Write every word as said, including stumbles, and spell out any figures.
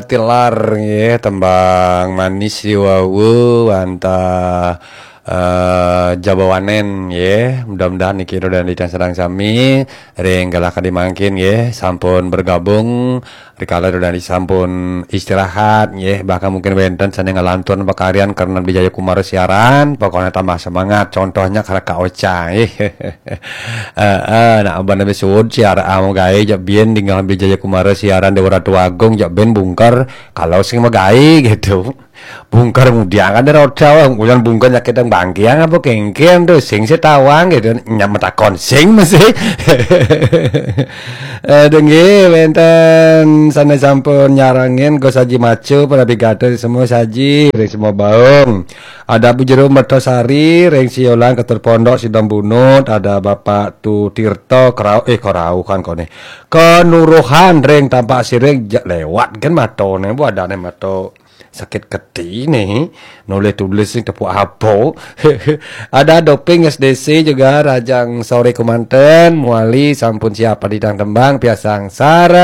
Tilar nggih, tembang manis riwau anta eh, Jabawanen nggih. Mudah-mudahan niki Rodan Dicang sedang sami ring galah kadi mangkin nggih sampun bergabung rikala Rodan sampun istirahat nggih, bahkan mungkin wenten sane ngelantur pakarian karena Bijaya Kumara siaran, pokoknya tambah semangat. Contohnya karena Kak Ocha nggih. Eh, eh, nak abang nabi suud siaran mau gawe jak bien dengan Bijaya Kumara siaran Dewa Ratu Agung jak ben bungker kalau sing magawe gitu. Bungker mudiang kan ada roda, ulan bungker nyakit yang bangkiang apa kengkeng tuh sing setawang gitu. Nyam takon sing masih. Eh, dengge wenten sana sampun nyarangin go saji macu pada pigato semua saji ring semua baung. Ada Bu Jero Mertosari ring Siolan Ketur Pondok Sidom Bunut, ada Bapak Tu Tirto Kerau eh Kerau kan kone. Kenuruhan ring Tampak Siring ja- lewat kan matone, bu adane mato sakit keti nih. Nulis tulis nih tepuk apo. Ada Doping S D C juga Rajang Sore Kemanten, Muali sampun siap di tembang piasang sarang